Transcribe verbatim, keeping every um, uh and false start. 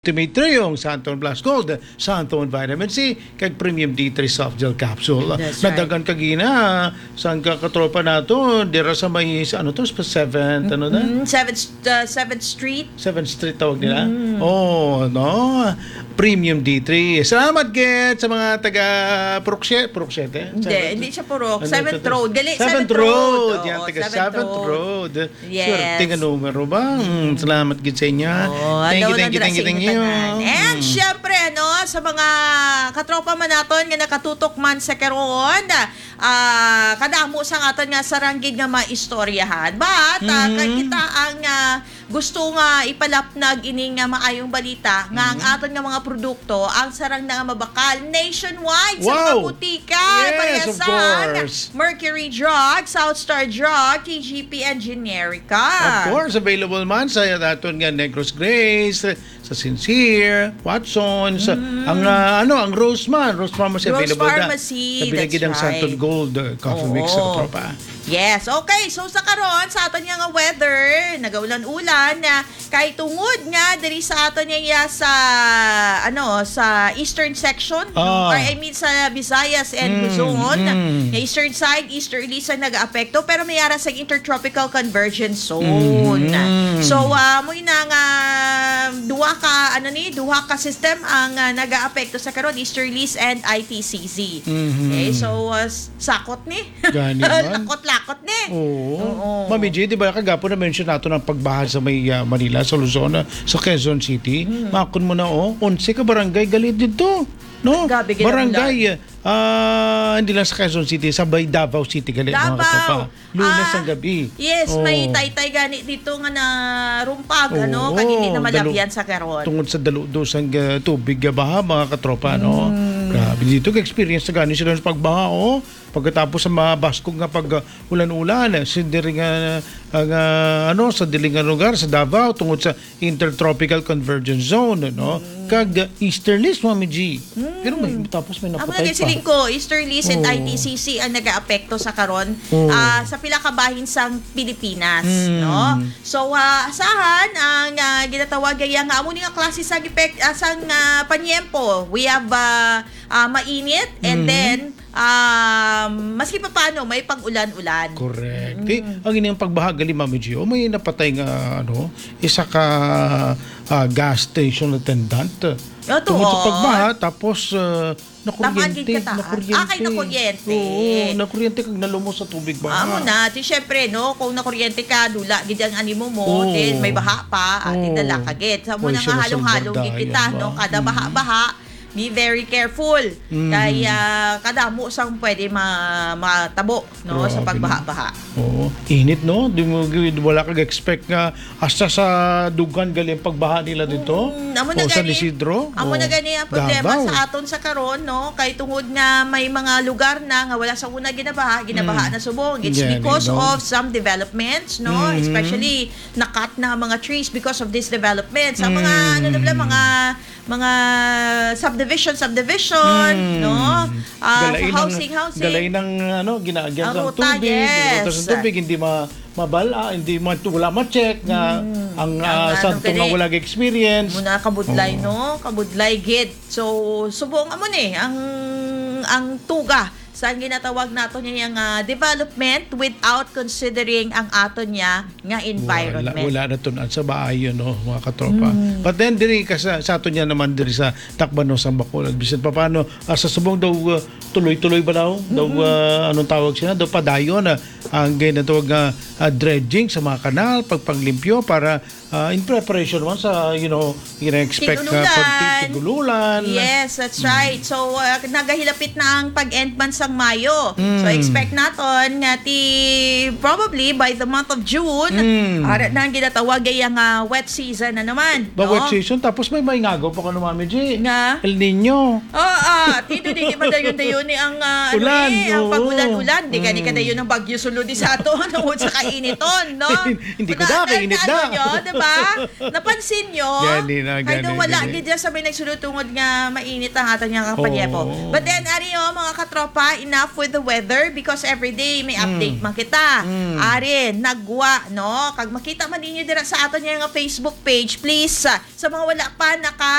Ultimate Trio, ang Santon Plus Gold, Santon Vitamin C, kag Premium D three Soft Gel Capsule. That's right. Nadagan kagina sang ka-, katropa nato, dira sa may, sa ano to, sa seventh, ano na? Mm, seventh, uh, seventh Street. Seventh Street tawag nila? Mm. Oh, no? Premium D three. Salamat, gid, sa mga taga Purok sie-, Purok siete? Hindi, Seventh? Hindi siya Purok. Ano Seventh to? Road. Gali, Seventh Seventh Road. Road. Yan, Oo, taga Seventh Seventh Road. Road. Yes. Swerte nga numero ba? Mm, salamat gid sa inyo. Oh, thank you, hello, thank you, Nandra, thank you, sa inyo thank you. Tanan. And Mm. syempre, ano, sa mga katropa man naton nga nakatutok man sa karon, ah, kadamo sang aton nga sarang gid nga maistoryahan. But, ah, Mm. kay kita ang, ah, gusto nga ipalapnag ining, ah, maayong balita nga ang Mm. aton nga mga produkto ang sarang na nga mabakal nationwide sa mga Wow. butika. Yes, of Pariasan, course. Mercury Drug, South Star Drug, T G P, and Generica. Of course, available man sa aton nga Negros Grace, sa Sincere, Watsons, Mm. ang, ah, ano, ang Rose man, Rose Pharmacy Rose available na. Pharmacy, Sa bilagid that's ang Santon right. Gold, uh, Coffee Mix, Oo. sa tropa. Yes, okay. So, sa karon, sa aton nga, nga weather, nagaulan-ulan na kay tungod nga diri sa aton nga iya sa, ano, sa eastern section, no? Ah. Or, I mean, sa Visayas and Mm, Luzon, mm. nga eastern side, easterly sa nag-aapekto, pero may ara sa intertropical convergence zone. Mm. So, ah, mo ina nga duha ka, ano ni, duha ka system ang, ah, nag-aapekto sa karon, easterlies and I T C Z. Mhm. Okay, so, ah, s-, sakot ni. Gani man. Lakot-lakot ni. Oo. Oo. Mami G, di ba kagapon na-mention nato ang pagbaha sa may, ah, Manila, sa Luzon, ah, sa Quezon City? Mm. Makon mo na, oh, onse ka barangay gali dito, no? Grabe, gid ang Barangay, ulan. Ah, hindi lang sa Quezon City, sa may Davao City gali, mga Davao. katropa. Lunes Ah, ang gabi. yes, may Oo. taytay gani dito nga narumpag, ano, Oo, kag hindi na dalu-, malabyan sa karon. tungod sa daludo sang, ah, tubig nga baha, mga katropa, no? Mm. Grabe, dito ka-experience na gani sila sa pagbaha, oh. Pagkatapos sa mga baskog nga pag, ah, ulan-ulan, eh, sa diri nga, ah, nga, ano, sa dili nga lugar, sa Davao, tungod sa Intertropical Convergence Zone, no? Mm. Kag, ah, easterlies, Mami G. Mm. Pero may, tapos may Amo na napatay kay pa. siling ko, easterlies and Oo. I T C C ang nagaapekto sa karon, Oo. ah, sa pila ka bahin sang Pilipinas, Mm. no? So, ah, asahan ang, ah, ginatawag gaya nga amo ni nga klase sang epek-, ah, sang, ah, panyempo. We have, ah, ah, mainit and Mhm. then, um, maski papaano, may pag-ulan-ulan. Correct. Mm. Di, ang ining pagbaha gali, Mami Gio, may napatay nga, ano, isa ka, ah, gas station attendant. Ah, Tungod sa tuod. pagbaha, tapos, ah, Tamaan gid nakuryente, ka taas. nakuryente. Ah, kay nakuryente. Oo, nakuryente kag nalumos sa tubig baha. Amo na, di syempre, no, kung nakuryente ka, dula gid ang animo mo, Oo. then may baha pa, ah, di Oo. dala ka gid. Sa mo Oy, na nga siya na halong-halong gid salbardaya kita, no, ba? kada Mm. baha-baha, be very careful. Mm. Kay, ah, kadamo sang pwede ma-, matabo, no, sa Grabe, no? pagbaha-baha. Oo. Init, no? Di mo gi-, wala kag expect nga hasta sa Dugan gali ang pagbaha nila dito. Mm, amo na O San gani, Isidro. amo na O gani ang problema Davao. sa aton sa karon, no? Kay tungod nga may mga lugar na nga wala sa una ginabaha, ginabaha Mm. na subong. It's Gani, because no? of some developments, no? Mm. Especially nakat na ang mga trees because of these developments. Ang mga, Mm. ano na pala, mga, mga subdivision, subdivision, Mm. no? Ah, Galain sa ang, housing, housing. galain ang, ano, ginaagyan Ang sa ruta, tubig, yes. ruta sa tubig, hindi ma-, mabala, hindi ma-, wala ma-check nga Mm. ang, Ang ah, ano santo nga gani, wala experience. muna kabudlay, Oo. no? Kabudlay gid. So, subong amo ni ang, ang tuga sa ginatawag nato niya nga development without considering ang ato niya nga environment. Wala, wala na tun-an sa baayo, no, mga katropa. Mm. But then, diri ka sa, sa ato niya naman, diri sa Tacbanos ang Bacolod. Bisan pa paano, ah, sa subong daw, ah, tuloy-tuloy ba daw? Daw, Mm-mm. ah, anong tawag siya? Daw padayon, ah, ang ginatawag nga, ah, dredging sa mga kanal, pagpanglimpyo para, ah, in preparation man sa, you know, gina-expect nga Tig-ululan. pag-, tig-ululan. Yes, that's Mm. right. So, ah, nagahilapit na ang pag-end man sang Mayo. So, Mm. expect naton nga ti-, probably by the month of June, Mm. ara na ang ginatawag ay ang, ah, wet season na naman, Ba, no? wet season, tapos may, may ngagaw pa ko, Mami G. Nga? El Niño. Oo, ah, ti, dili padayon-dayon ni ang, ah, ano Ulan, eh, ang oo. pag-ulan-ulan. Di gani Mm. kadayon ang bagyo sulod di sa ato, tungod sa kainiton, no? Hindi ko Una, na, kainit ano na. nyo, di pa. Napansin nyo? Gani na, Kaya daw gani, wala gani. gid dyan sa may nagsulod tungod nga mainit ang ato niya nga panyepo. Oo. But then, ari o, mga katropa, enough with the weather because every day may update man kita. Ari, nagwa, no? Kag makita man ninyo dira sa ato niya nga Facebook page, please, ah, sa mga wala pa naka